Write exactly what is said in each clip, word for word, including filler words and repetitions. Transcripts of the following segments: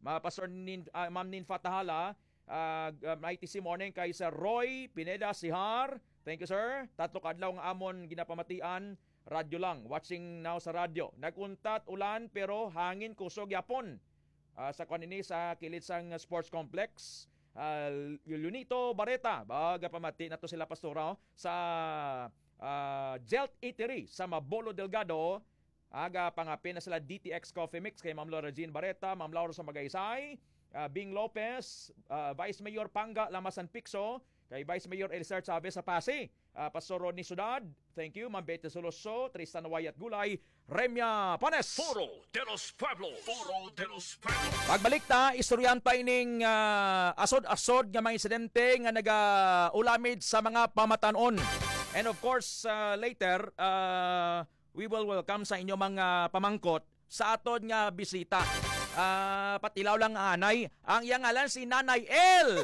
Ma-, Pastor Nin-, ah, Ma'am Ninfa Tahala, ah, g-, ah, Mighty C morning kay Sir Roy Pineda Sihar. Thank you, sir. Tatlo ka adlaw nga amon ginapamatian, radyo lang. Watching now sa radyo. Nag-untat ulan pero hangin kusog yapon. Ah, sa kuan ini sa kilid sang sports complex. Ah, Lunito Bareta, baga pamati na to sila pastora, oh, sa, ah, Jelt Eatery sa Mabolo Delgado. Aga pangapin na sila D T X Coffee Mix kay Ma'am Laura Jean Bareta, Ma'am Laura sa Magaysay, ah, Bing Lopez, ah, Vice Mayor Panga Lamasan Picso, kay Vice Mayor Elizar Chavez sa Pasi, ah, Pastor Rodney Sudad, thank you, Ma'am Betty Soloso, Tristan Wayat Gulay, Remya Panes. Foro de los Pueblos. Foro de los Pueblos. Pagbalik ta, istoryahan ta ining, ah, asod-asod nga mga insidente nga nagaulamid sa mga pamatanon. And of course, ah, later, ah, we will welcome sa inyo mga pamangkot sa aton nga bisita. Ah, patilaw lang, anay. Ang iyang ngalan si Nanay L.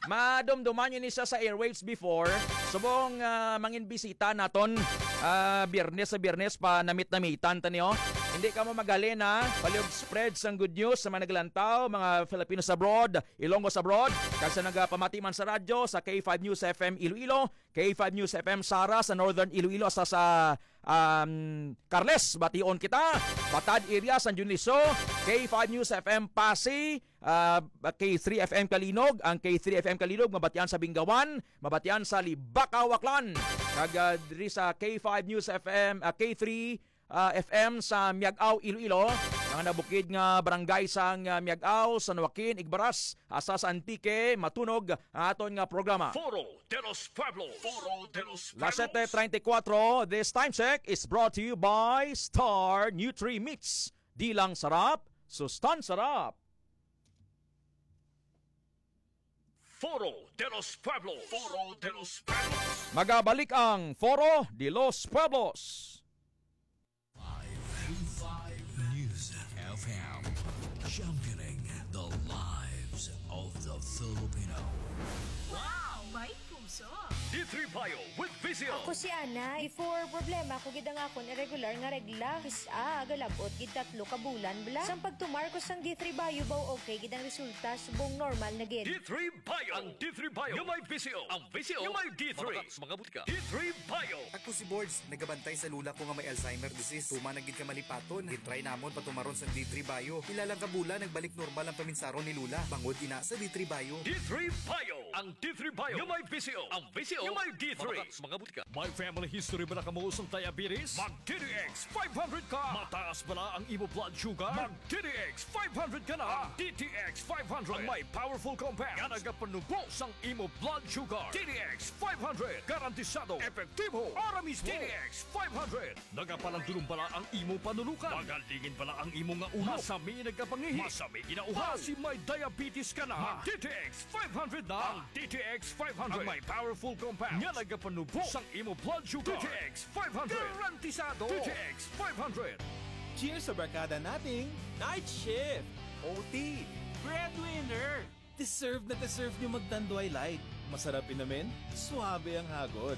Madumduman niyo ni siya sa airwaves before. Subong, ah, mangin bisita naton, ah, Biyernes sa Biyernes pa namit-namitan ta niyo. Hindi ka mo magalin, ha. Palihog spread sang good news sa mga naglantaw, mga Filipinos abroad, Ilonggos abroad, kag sa nagapamati man sa radyo sa K five News F M Iloilo, K five News F M Sara sa Northern Iloilo, sa, sa, um, Carles, bation kita. Batad area, San Dionisio, K five News F M Pasi, ah, K three F M Calinog, ang K three F M Calinog mabatian sa Bingawan, mabatian sa Libacao, Aklan. Kag, ah, diri sa K five News F M, ah, K three, ah, F M sa Miag-ao, Iloilo, mga nabukid nga barangay sang, ah, Miag-ao, San Joaquin, Igbaras, asa sa Antique, matunog ang aton nga programa. Foro de los Pueblos. Foro de los Las Pueblos. Sete treinta y cuatro, this time check is brought to you by Star Nutri Mix. Di lang sarap, sustansarap. Foro de los Pueblos. Foro de los Pueblos. Magabalik ang Foro de los Pueblos. Five News F M, championing the lives of the Filipino. Wow! May puso! D three Bio with V C O. Ako si Ana. Before, problema ko gid ang akon irregular nga regla. Kis-a, galab-ot gid tatlo ka bulan bala. Sang pagtumar ko sang D three Bio, baw okay gid ang resulta. Subong normal na gid. D three Bio. Ang D three Bio nga may V C O. Ang V C O nga may D three. Mabakak sa mga butika. D three Bio. Ako si Bords, nagabantay sa lula ko nga may Alzheimer disease. Tuman na gid ka malipaton. Gintry namon patumaron sang D three Bio. Pila lang ka bulan, nagbalik normal ang paminsaron ni Lula. Bangod ina sa D three Bio. D three Bio. Ang D three Bio nga may V C O. Ang V C O nga may D three. Mabakak sa mga butika. May family history bala kamo sang diabetes? Mag D T X five hundred ka. Mataas bala ang imo blood sugar? Mag D T X five hundred ka na. Ang D T X five hundred ang may powerful compound nga nagapanubo sang imo blood sugar. D T X five hundred, garantisado, epektibo, ara mismo. D T X five hundred, nagapalandulong bala ang imo panulukan? Magalingin bala ang imo nga ulo? Masami nagkapangihi? Masami ginauhaw? Basi may diabetes ka na? Mag D T X five hundred na. Ang D T X five hundred ang may powerful compound nga nagapanubo sang imo blood sugar. D T X five hundred. Garantisado. D T X five hundred. Cheers sa barkada nating night shift, O T, breadwinner. Deserve na deserve nyo mag Tanduay Light. Masarap inumin, suabe ang hagod.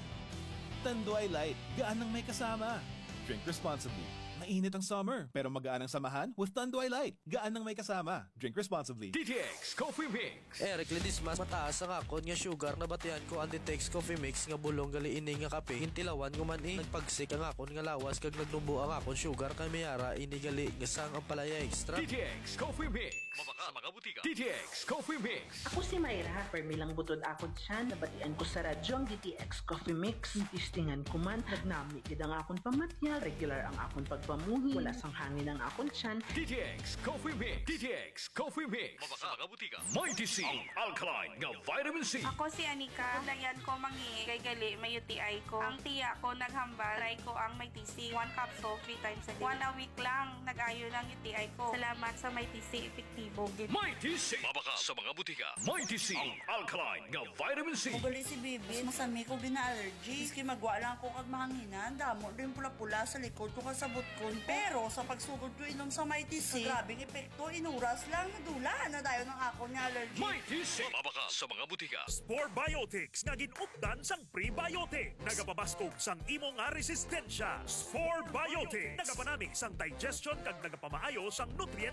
Tanduay Light, gaan ang may kasama. Drink responsibly. Mainit ang summer, pero magaan ang samahan with Tanduay Light. Gaan ang may kasama. Drink responsibly. D T X Coffee Mix. Eric Ledesma, mataas ang akon nga sugar. Nabatian ko ang D T X Coffee Mix nga bulong gali ini nga kape. Gintilawan ko man, eh. Nagpagsik ang akon nga lawas kag nagnubo ang akon sugar, kay may ara ini gali nga sang ampalaya extra. D T X Coffee Mix. Mabakak sa mga butika. D T X Coffee Mix. Ako si Myra. Permi lang butod akon tiyan. Nabatian ko sa radyo ang D T X Coffee Mix. Testingan ko man. Nagnami gid ang akon pamatian. Regular ang akon pagpamuhi. Wala sang hangin ang akon tiyan. D T X Coffee Mix. D T X Coffee Mix. Mabakak sa mga butika. Mighty C, ang alkaline nga vitamin C. Ako si Anika. Paglayan ko mangihi kay gali may U T I ko. Ang tiya ko naghambal, try ko ang Mighty C. One capsule, three times a day. One a week lang, nag-ayo na ang U T I ko. Salamat sa Mighty C, epektibo gid. Mighty C. Mabakak sa mga butika. Mighty C, ang alkaline nga vitamin C. Ugali si Bibi, masami ko gina-allergy. Miski magwa lang ako kag mahanginan, damo din pula-pula sa likod ko kag sa butkon ko. Pero sa pagsugod ko inom sa Mighty C, grabing epekto, inuras lang, nadula na dayon ang akon nga allergy. Mighty C. Mabakak sa mga butika. Spore Biotics nga gin-updan sang prebiotic. Nagapabaskog sang imo nga resistensya. Spore Biotics. Nagapanami sang digestion kag nagapamaayo sang nutrient